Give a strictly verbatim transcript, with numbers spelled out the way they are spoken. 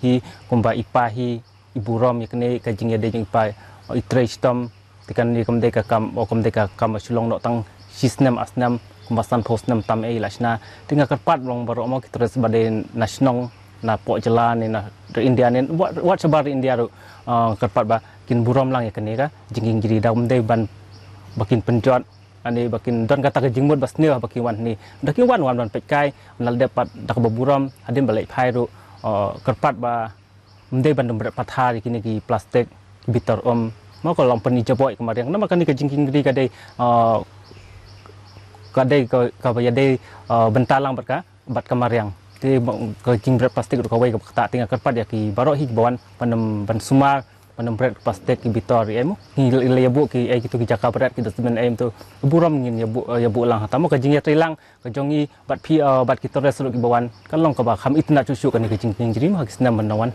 hi kumba i pa hi i burom ïa kane ka jingïadei jong i pa, i trei shitom. Te kane kam dei ka kam, o kam dei ka kam ba shu long noh tang shi snem ar snem, kumba sanphew snem tam ei la shna. Te nga kyrpad long baroh mo ki tourist ba dei na shnong, na poh jylla ne na ri India ne wat, wat shabar ri India ruh, ah, kyrpad ba kin burom lang ïa kane ka jingkieng jri, da ym dei ban ba kin pynjot, ani ba kin don kata ka jingmut ba sniew ba kin wan hangne. Da kin wan, wan ban peit kai, ban la dep pat da kaba burom, hadien ba leit phai ruh, ah, kyrpad ba ym dei ban dum bret pathar ïa kine ki plastik ki bitor um. Mo ka long pynïaboh ïa ka mariang. Namar kane ka jingkieng jri ka dei, ah, ka dei ka, kaba ïadei, ah, bynta lang bad ka, bad ka mariang. Te mo ka jingbret plastik ruh kawei kaba ktah, te nga kyrpad ïa ki baroh hi kiba wan ban ym, ban sumar, ban ym bret plastik ki bitor ïa mo. Ngi la ïabuh ki, eh, kito ki jaka bret, ki dustbin, eh, to burom ngin ïabuh, eh, ïabuh lang. Hata mo ka jingïatreilang ka jong ngi bad phi, eh, bad ki tourist ruh kiba wan, kan long kaba kham itynnad shuh shuh kane ka jingkieng jri mo ha ki snem ban wan.